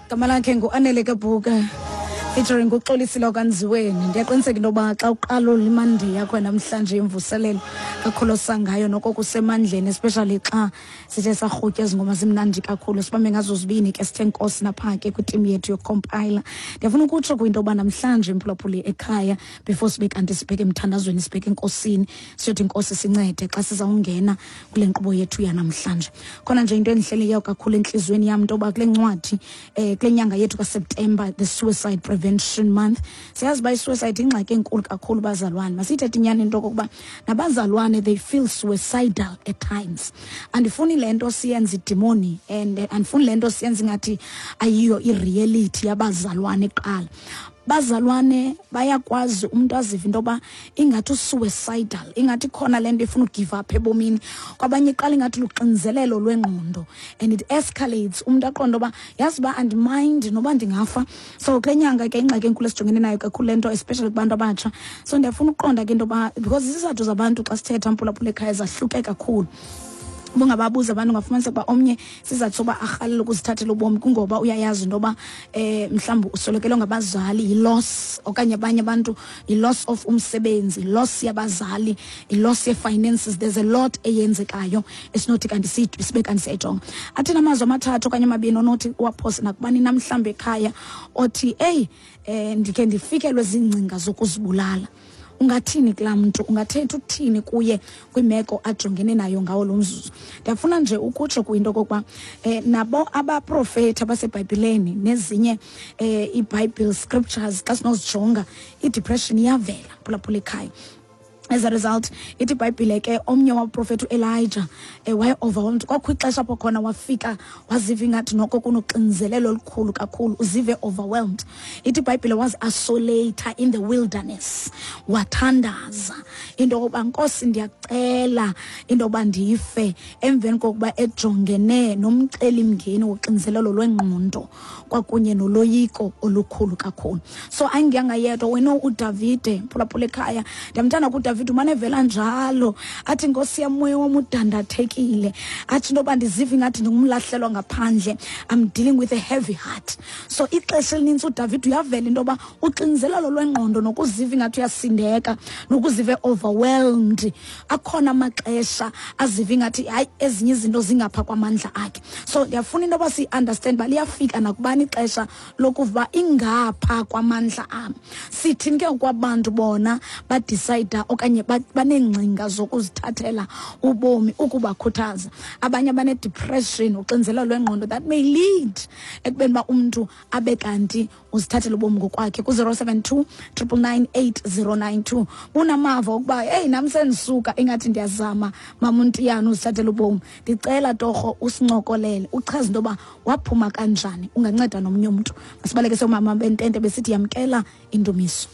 Gama lakhe nguAnele Kabhuka featuring uXolisile Kanziweni. Ndiyaqiniseka into yoba xa uqala imandi yakho namhlanje imvuselelo kakholosa ngayo noko kusemandleni, especially xa sithe sarhutya ezi ngoma zimnandi kakhulu. Sibambe ngazo zibini ke, sithe nkosi napha ke kwitimu yethu yokukompayila. Ndiyafuna ukutsho kwinto yoba namhlanje, mphulaphuli ekhaya, before sibe kanti sibheke emthandazweni, sibheke enkosini, siyothi inkosi sincede xa sizawungena kule nkqubo yethu yanamhlanje, khona nje into endihleleyo kakhulu entliziyweni yam into yoba kule ncwadi, kule nyanga yethu kaSeptemba, the Suicide Prevention Month, siyazi uba i-suicide ingxaki enkulu kakhulu. Bazalwane, masiyithethe inyani into okokuba nabazalwane, they feel suicidal at times. Andifuni le nto siyenze idimoni and andifuni le nto siyenze ingathi ayiyo i-reality yabazalwane. Kuqala bazalwane bayakwazi umntu azive into yoba ingathi u-suicidal, ingathi khona le nto ifuna u-give up ebomini. Kwabanye iqala ingathi luxinzelelo lwengqondo and it escalates, umntu aqonde uba yazi uba andi-mind noba ndingafa. So kule nyanga ke ingxaki enkulu esijongene nayo kakhulu le nto, especially kubantu abatsha. So ndiyafuna ukuqonda ke into yoba, because izizathu zabantu xa sithetha, mphulaphula ekhaya, zahluke kakhulu. Bungababuza abantu, ungafumaniseka uba omnye sizathu soba arhalela ukuzithathela ubomi kungoba uyayazi into yoba mhlawumbi uswelekelwe ngabazali, yi-loss, okanye abanye abantu yi-loss of umsebenzi, loss yabazali, i-loss ye-finances. There's a lot eyenzekayo esinothi kanti sibe kanti siyayijonga. Athini amazwi amathathu okanye amabini onothi uwaphose nakubani namhlawumbi ekhaya othi, eyi, ndikhe ndifikelwe ziingcinga zokuzibulala? Ungathini kulaa mntu? Ungathetha ukuthini kuye kwimeko ajongene nayo ngawo lo mzuzu? Ndiyafuna nje ukutsho kwinto okokuba nabo abaprofethi abasebhayibhileni nezinye ii-Bible scriptures, xa sinozijonga, i-depression iyavela, phulaphula ekhaya. As a result, ithi ibhayibhile ke omnye waprofethi uElijah waye-overwhelmed. Kwakho ixesha apho khona wafika waziva ingathi noko kunoxinzelelo olukhulu kakhulu, uzive overwhelmed. Ithi ibhayibhile wazi-isolate in the wilderness, wathandaza into yokuba, "Nkosi, ndiyacela into yokuba ndife," emveni kokuba ejongene nomcelimngeni woxinzelelo lwengqondo kwakunye noloyiko olukhulu kakhulu. So ayingiyanga yedwa wena. UDavide, phulaphula ekhaya, ndiyamthanda kuDavide, umane evela njalo athi, "Nkosi yam, moya wam udandathekile," athi into yoba ndiziva ingathi ndingumlahlelwa ngaphandle, I'm dealing with a heavy heart. So ixesha elinintsi uDavide uyavela into yoba uxinzelelo lwengqondo nokuziva ingathi uyasindeka nokuziva overwhelmed, akhona amaxesha aziva ingathi hayi, ezinye izinto zingapha kwamandla akhe. So ndiyafuna into yoba siyi-understand uba liyafika nakubani ixesha lokuva ingapha kwamandla am. Sithini ke kwabantu bona badicida okanye baneengcinga zokuzithathela ubomi, ukubakhuthaza abanye abane-depression, uxinzelelo lwengqondo that may lead ekubeni uba umntu abe kanti uzithathela ubomi ngokwakhe? Ku-072 999 8092, bunamava okuba, "Eyi, nam sendisuka ingathi ndiyazama, mamuntiyana, uzithathela ubomi," ndicela torho usincokolele, uchaze into yoba waphuma kanjani, unganceda nomnye umntu. Masibaleke siyomama bentente besithi yamkela indumiso.